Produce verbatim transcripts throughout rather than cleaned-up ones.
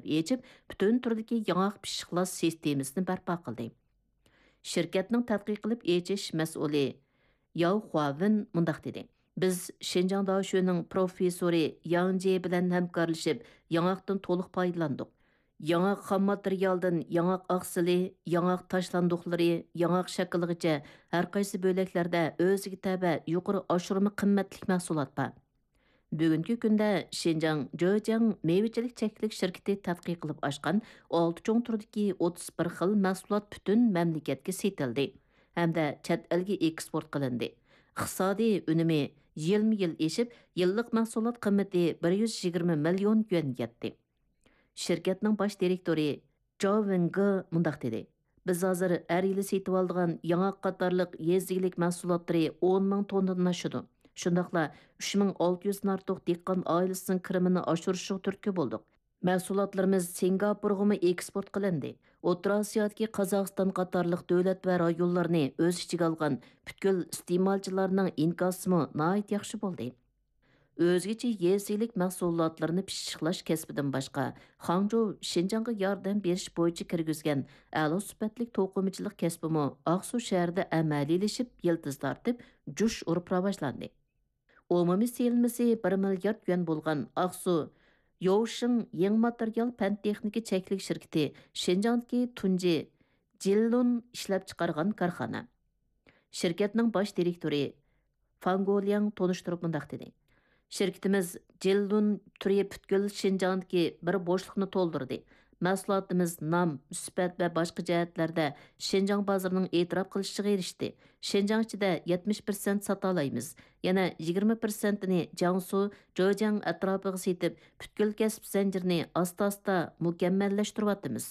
ئېچىپ، پۈتۈن تۈردىكى ياڭاق پىششىقلاش سىستېمىسىنى بەرپا قىلدى. شىركەتنىڭ تەتقىق قىلىپ ئېچىش مەسئۇلى ياۋ خۇاۋېن مۇنداق دېدى: «بىز شىنجاڭ داشۆنىڭ پروفېسسورى ياڭ جيې بىلەن ھەمكارلىشىپ، ياڭاقتىن تولۇق پايدىلاندۇق. ياڭاق خام ماتېرىيالدىن ياڭاق ئاقسىلى، ياڭاق تاشلاندۇقلىرى، ياڭاق شەكلىغىچە ھەر قايسى بۆلەكلەردە ئۆزىگە تەۋە يۇقىرى ئاشۇرما قىممەتلىك مەھسۇلات بار.» بۈگۈنكى كۈندە شىنجاڭ جېجياڭ مېۋىچىلىك چەكلىك شىركىتى تەتقىق قىلىپ ئاچقان ئالتە چوڭ تۈردىكى ئوتتۇز بىر خىل مەھسۇلات پۈتۈن مەملىكەتكە سېتىلدى ھەمدە چەت ئەلگە ئېكسپورت قىلىندى. ئىقتىسادىي ئۈنۈمى يىلمۇ يىل ئېشىپ، يىللىق مەھسۇلات قىممىتى بىر يۈز يىگىرمە مىليون يۈەنگە يەتتى. شىركەتنىڭ باش دىرېكتورى جاۋ ۋېڭگې مۇنداق دېدى: «بىز ھازىر ھەر يىلى سېتىۋالىدىغان ياڭاق قاتارلىق يېزا ئىگىلىك مەھسۇلاتلىرى ئون مىڭ توننىدىن ئاشىدۇ. شۇنداقلا ئۈچ مىڭ ئالتە يۈزدىن ئارتۇق دېھقان ئائىلىسىنىڭ كىرىمىنى ئاشۇرۇشىغا تۈرتكە بولدۇق. مەھسۇلاتلىرىمىز سىنگاپورغىمۇ ئېكسپورت قىلىندى. ئوتتۇرا ئاسىيادىكى قازاقىستان قاتارلىق دۆلەت ۋە رايونلارنى ئۆز ئىچىگە ئالغان پۈتكۈل ئىستېمالچىلارنىڭ ئىنكاسىمۇ ناھايىتى ياخشى بولدى.» ئۆزگىچە يېزا ئىگىلىك مەھسۇلاتلىرىنى پىششىقلاش كەسپىدىن باشقا، خاڭجۇ شىنجاڭغا ياردەم بېرىش بويىچە كىرگۈزگەن ئەلا سۈپەتلىك توقۇمىچىلىق كەسپىمۇ ئاقسۇ شەھىرىدە ئەمەلىيلىشىپ، يىلتىز تارتىپ، جۇش ئۇرۇپ راۋاجلاندى. ئومۇمىي سېلىنمىسى بىر مىليارد يۈەن بولغان ئاقسۇ يوۋشىڭ يېڭى ماتېرىيال پەن تېخنىكا چەكلىك شىركىتى شىنجاڭدىكى تۇنجى جىللۇن ئىشلەپچىقارغان كارخانا. شىركەتنىڭ باش دىرېكتورى فاڭ گولياڭ تونۇشتۇرۇپ مۇنداق دېدى: «شىركىتىمىز جىللۇن تۈرى پۈتكۈل شىنجاڭدىكى بىر بوشلۇقنى تولدۇردى. مەھسۇلاتىمىز نام، سۈپەت ۋە باشقا جەھەتلەردە شىنجاڭ بازىرىنىڭ ئېتىراپ قىلىشىغا ئېرىشتى. شىنجاڭ ئىچىدە يەتمىش پىرسەنت ساتالايمىز. يەنە يىگىرمە پىرسەنتىنى جياڭسۇ، جېجياڭ ئەتراپىغا سېتىپ، پۈتكۈل كەسىپ زەنجىرىنى ئاستا-ئاستا مۇكەممەللەشتۈرۈۋاتىمىز.»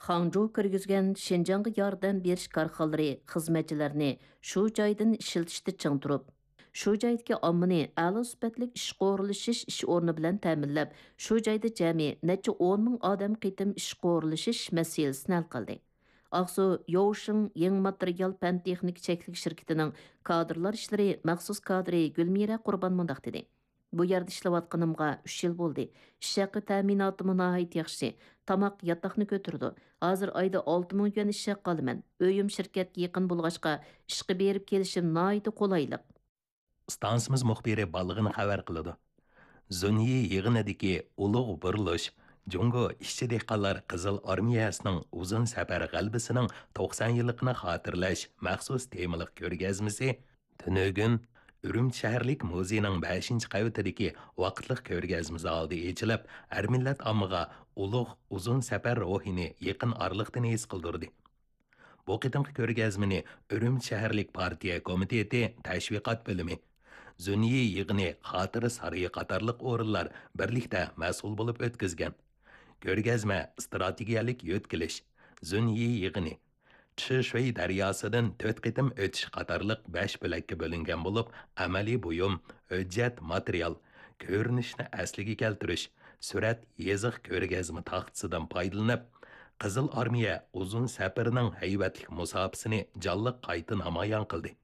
خاڭجۇ كىرگۈزگەن شىنجاڭغا ياردەم بېرىش كارخانىلىرى خىزمەتچىلەرنى شۇ جايدىن ئىشلىتىشتە چىڭ تۇرۇپ، شۇ جايدىكى ئاممىنى ئەلا سۈپەتلىك ئىشقا ئورۇنلىشىش ئىش ئورنى بىلەن تەمىنلەپ، شۇ جايدا جەمئىي نەچچە ئون مىڭ ئادەم قېتىم ئىشقا ئورۇنلىشىش مەسىلىسىنى ھەل قىلدى. ئاقسۇ يوۋشىڭ يېڭى ماتېرىيال پەن تېخنىكا چەكلىك شىركىتىنىڭ كادىرلار ئىشلىرى مەخسۇس كادىرى گۈلمىرە قۇربان مۇنداق دېدى: «بۇ يەردە ئىشلەۋاتقىنىمغا ئۈچ يىل بولدى. ئىش ھەققى تەمىناتىمۇ ناھايىتى ياخشى. تاماق، ياتاقنى كۆتۈرىدۇ. ھازىر ئايدا ئالتە مىڭ يۈەن ئىش ھەققى ئالىمەن. ئۆيۈم شىركەتكە يېقىن بولغاچقا، ئىشقا بېرىپ كېلىشىم ناھايىتى قولايلىق.» ئىستانسىمىز مۇخبىرى بالىغىنى خەۋەر قىلىدۇ. زۇنيى يىغىنىدىكى ئۇلۇغ بۇرۇلۇش، جۇڭگو ئىشچى دېھقانلار قىزىل ئارمىيەسىنىڭ ئۇزۇن سەپەر غەلىبىسىنىڭ توقسان يىللىقىنى خاتىرىلەش مەخسۇس تېمىلىق كۆرگەزمىسى تۈنۈگۈن ئۈرۈمچى شەھەرلىك مۇزېينىڭ بەشىنچى قەۋىتىدىكى ۋاقىتلىق كۆرگەزمە زالىدا ئېچىلىپ، ھەر مىللەت ئاممىغا ئۇلۇغ ئۇزۇن سەپەر روھىنى يېقىن ئارىلىقتىن ھېس قىلدۇردى. بۇ قېتىمقى كۆرگەزمىنى ئۈرۈمچى شەھەرلىك پارتىيە كومىتېتى تەشۋىقات بۆلۈمى، زۈنيى يىغىنى خاتىرە سارىيى قاتارلىق ئورۇنلار بىرلىكتە مەسئۇل بولۇپ ئۆتكۈزگەن. كۆرگەزمە ئىستراتېگىيەلىك يۆتكىلىش، زۈنيى يىغىنى، چىشۈي دەرياسىدىن تۆت قېتىم ئۆتۈش قاتارلىق بەش بۆلەككە بۆلۈنگەن بولۇپ، ئەمەلىي بۇيۇم، ھۆججەت، ماتېرىيال، كۆرۈنۈشنى ئەسلىگە كەلتۈرۈش، سۈرەت، يېزىق، كۆرگەزمە تاختىسىدىن پايدىلىنىپ، قىزىل ئارمىيە ئۇزۇن سەپىرىنىڭ ھەيۋەتلىك مۇساپىسىنى جانلىق قايتا نامايان قىلدى.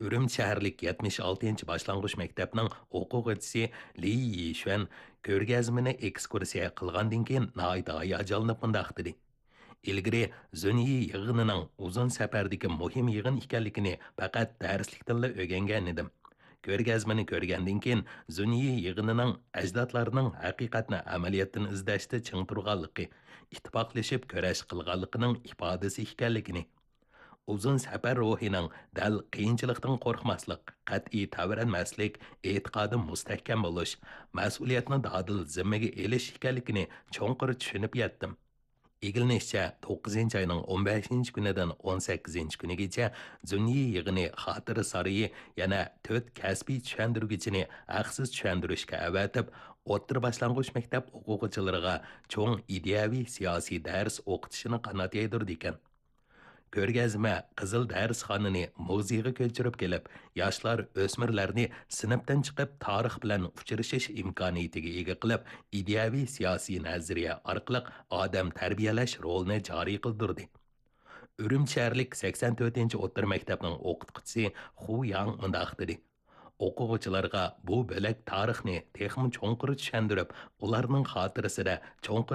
ئۈرۈمچى شەھەرلىك يەتمىش ئالتىنچى باشلانغۇچ مەكتەپنىڭ ئوقۇغۇچىسى لى يىشۈەن كۆرگەزمىنى ئېكسكۇرسىيە قىلغاندىن كېيىن ناھايىتى ھاياجانلىنىپ مۇنداق دېدى: «ئىلگىرى زۈنيى يىغىنىنىڭ ئۇزۇن سەپەردىكى مۇھىم يىغىن ئىكەنلىكىنى پەقەت دەرسلىكتىنلا ئۆگەنگەن ئىدىم. كۆرگەزمىنى كۆرگەندىن كېيىن زۈنيى يىغىنىنىڭ ئەجدادلارنىڭ ھەقىقەتنى ئەمەلىيەتتىن ئىزدەشتە چىڭ تۇرغانلىقى، ئىتتىپاقلىشىپ كۈرەش قىلغانلىقىنىڭ ئىپادىسى ئىكەنلىكىنى، ئۇزۇن سەپەر روھىنىڭ دەل قىيىنچىلىقتىن قورقماسلىق، قەتئىي تەۋرەنمەسلىك، ئېتىقادى مۇستەھكەم بولۇش، مەسئۇلىيەتنى دادىل زىممىگە ئېلىش ئىكەنلىكىنى چوڭقۇر چۈشىنىپ يەتتىم.» ئىگىلىنىشىچە، توققۇزىنچى ئاينىڭ ئون بەشىنچى كۈنىدىن ئون سەككىزىنچى كۈنىگىچە زۈنيى يىغىنى خاتىرە سارىيى يەنە تۆت كەسپىي چۈشەندۈرگۈچىنى ھەقسىز چۈشەندۈرۈشكە ئەۋەتىپ، ئوتتۇرا باشلانغۇچ مەكتەپ ئوقۇغۇچىلىرىغا چوڭ ئىدىيەۋى سىياسىي دەرس ئوقۇتۇشىنى قانات يايدۇرىدىكەن. كۆرگەزمە قىزىل دەرسخانىنى مۇزېيغا كۆچۈرۈپ كېلىپ، ياشلار، ئۆسمۈرلەرنى سىنىپتىن چىقىپ تارىخ بىلەن ئۇچرىشىش ئىمكانىيىتىگە ئىگە قىلىپ، ئىدىيەۋى سىياسىي نەزەرىيە ئارقىلىق ئادەم تەربىيەلەش رولىنى جارى قىلدۇردى. ئۈرۈمچى شەھەرلىك سەكسەن تۆتىنچى ئوتتۇرا مەكتەپنىڭ ئوقۇتقۇچىسى خۇ ياڭ مۇنداق دېدى: «ئوقۇغۇچىلارغا بۇ بۆلەك تارىخنى تېخىمۇ چوڭقۇر چۈشەندۈرۈپ، ئۇلارنىڭ خاتىرىسىدە چوڭقۇر